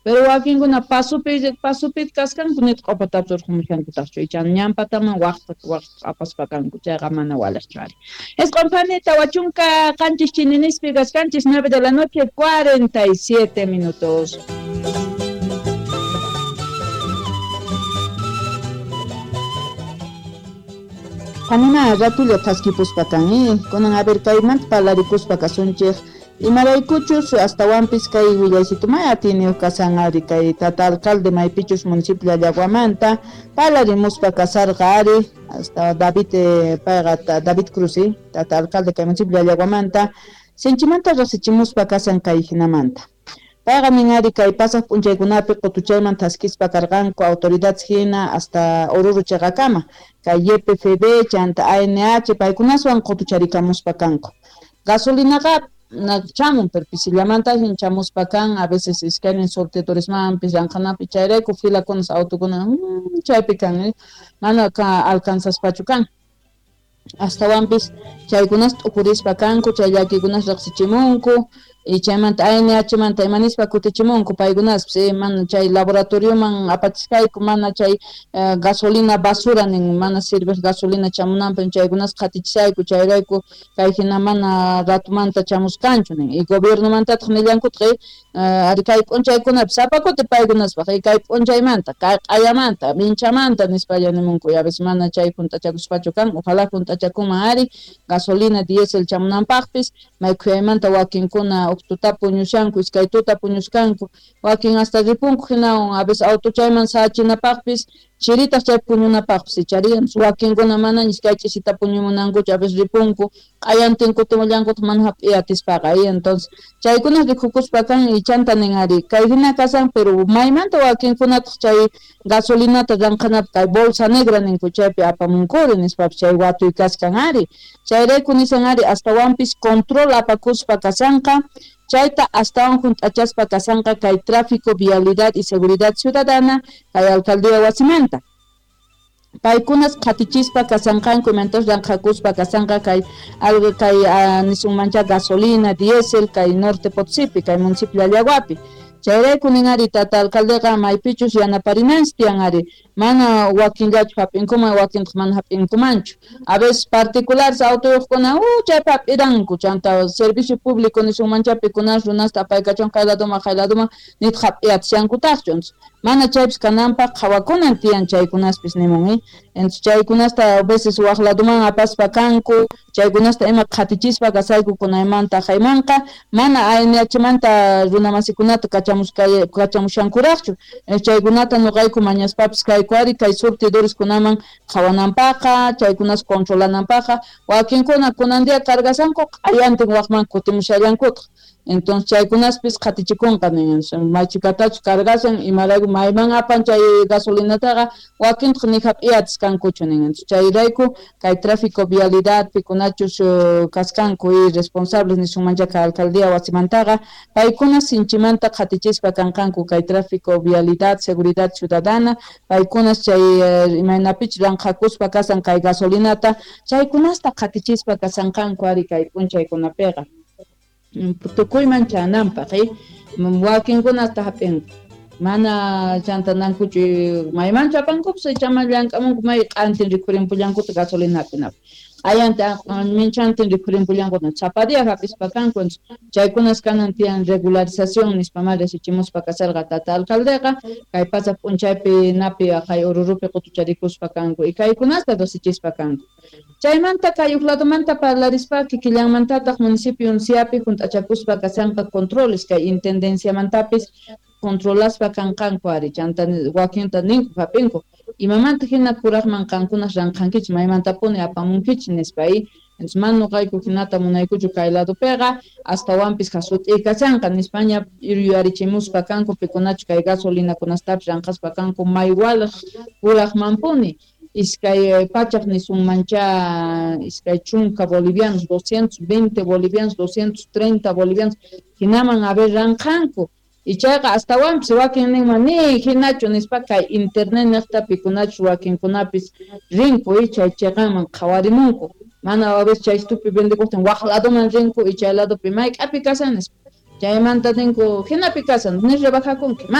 Pero wakinkuna pasupi kaskanku nitaq q'upatapis urqhumushankutaqchu, icha ñanpataman waqta apaspa kanku, chayqa mana walaqchu ari. 9 phani 47 chininispi kaskanchis, 9 de la noche 47 minutos. Panima ratulla thaskipuspa kan, kunan a ver kaymanta parlarikuspa kasunchik, imaraykuchus astawanpis kay willaysitu may atiniyuq kasan ari kay tata alcalde maypichus municipio Llallaguamanta parlarimuspa kasarqa ari hasta David payqa David Cruz, tata alcalde kay municipio Llallaguamanta sinchimanta riqsichimuspa kasan kay hinamanta. Payqa nin ari kay pasaq p'unchaykunapi qutuchayman thaskispa karqanku autoridades hina hasta Oruro chiqakama kay YPFB chanta ANH paykunaswan qutucharikamuspa kanku. Gasolinaqa chamun pero pisillamanta hin chamuspa kan, a veces iskaynin surtidoresmanpis llanqanapi, chayrayku filakunas autokuna chaypi kan, mana alcanzaspachu kan. Astawanpis chaykunas t'ukurispa kanku, chay llakikunas riqsichimunku y chaymanta ANH manta imanispa kutichimunku paykunaspis, mana chay laboratorioman apachisqayku, mana chay gasolina basura nin, mana sirveq gasolina chamunanpaq chaykunas qhatichisayku, chayrayku kay hina mana ratumanta chamusqanchu nin. Y gobiernomantataq nillankutaq ari kay p'unchaykunapi sapa kuti paykunaspaq kay p'unchaymanta, kay q'ayamanta, minchamanta nispalla nimunku, y a veces mana chay junt'achakuspachu kan, ojalá junt'achakunman ari gasolina diésel chamunanpaqpis. May khuyaymanta wakinkuna huk tuta puñushanku, iskay tuta puñuskanku, wakin hasta ripunku hinawan a veces auto chayman sachinapaqpis, chiritaq chay puñunapaqpis ichari, wakinkuna mana iskay ch'isita puñumunankuchu, a veces ripunku q'ayantin kutimullankutaq mana hap'iy atispaqa. Entonces chaykuna rikukuspa kan y chanta nin ari kay hina kasan, pero maymanta wakinkunataq chay gasolinata llanqanapaq kay bolsa negra ninku chaypi apamunkuri nispapis chay watuy kaskan ari. Chayrayku nisan ari astawanpis control apakuspa kasanqa, chayta astawan junt'achaspa kasanqa kay tráfico, vialidad y seguridad ciudadana kay alcaldía wasimanta. Paykunas qhatichispa kasanqanku, imantas llanqhakuspa kasanqa kay algo kay nisunmancha gasolina, diésel kay Norte Potosipi, kay municipio Llallaguapi. Chayrayku nin ari tata alcaldeqa maypichus yanaparinanchis tiyan ari, mana wakinllachu hap'inkuman, wakintaq mana hap'inkumanchu. A veces particulares autoyuqkuna chaypi hap'iranku, chanta servicio público nisunmancha pikunas runasta apaykachun kay ladoman kay ladoman nitaq hap'iyatishankutaqchu. Mana chaypis kananpaq qhawakunan tiyan chaykunaspis nimun. Entonces chaykunasta a veces waq ladoman apaspa kanku, chaykunasta ima qhatichispa kasayku kunaymanta haymanqa, mana ANH manta runamasikunata kachamushankuraqchu. Chaykunata nuqayku mañaspapis kayku ari kay surtidoreskunaman qhawananpaqa, chaykunas controlananpaqa, wakinkuna kunan día cargasanku q'ayantin waqman kutimushallankutaq. Entonces chaykunaspis qhatichikunqa nin, maychikatachu cargasan, imarayku mayman apan chay gasolinataqa, wakintaq ni hap'iyatis kankuchu nin. Chayrayku kay tráfico vialidad pikunachus kaskanku y responsables nisunmancha kay alcaldía wasimantaqa, paykuna sinchimanta qhatichispa kanqanku kay tráfico, vialidad, seguridad ciudadana, paykunas chay imaynapichus llanqhakuspa kasan kay gasolinata, chaykunasta qhatichispa kasanqanku ari kay p'unchaykunapiqa. Tukuyman chananpaq, wakinkunata hap'inku mana chantanankuchu maymanchu apankupis, ichaman llank'amunku may q'antin rikhurimpullankutaq gasolina hap'inapaq, q'ayanta minchantin rikhurimpullankutaq sapa día hap'ispa kanku. Chaykunas kanan tiyan regularización nispa ma riqsichimuspa kasarqa tata alcaldeqa kay pasaq p'unchaypi napi kay Orurupi qutucharikuspa kanku y kaykunasta riqsichispa kanku. Chaymanta kay huk ladomanta parlarispa kikillanmantataq municipio Unciapi junt'achakuspa kasanqa controles kay intendenciamantapis controlaspa kanqanku ari, chanta wakinta ninku hap'inku imamanta hina kuraqman qankunas ranqankichis, maymantapuni apamunkichis nispa. Entonces mana nuqayku hinata munaykuchu kay ladopiqa, astawanpis jasut'iy kashanqa nispaña yuyarichimuspa kanku pikunachu kay gasolinakunastapis ranqaspa kanku may waliq kuraqmanpuni iskay pachak nisunmancha 20 bolivianos, 220 bolivianos, 230 bolivianos hinaman a ver ranqanku. Y chayqa astawanpis wakin ninman ni hinachu nispa kay internet niqta pikunachus wakinkunapis rinku y chay chiqanman qhawarimunku, mana a veces chay estupi vendekuqtin waq ladoman rinku y chay ladopi mayk'api kashan nispa. Chaymanta ninku, jinapi kashan, ni rebajakunki.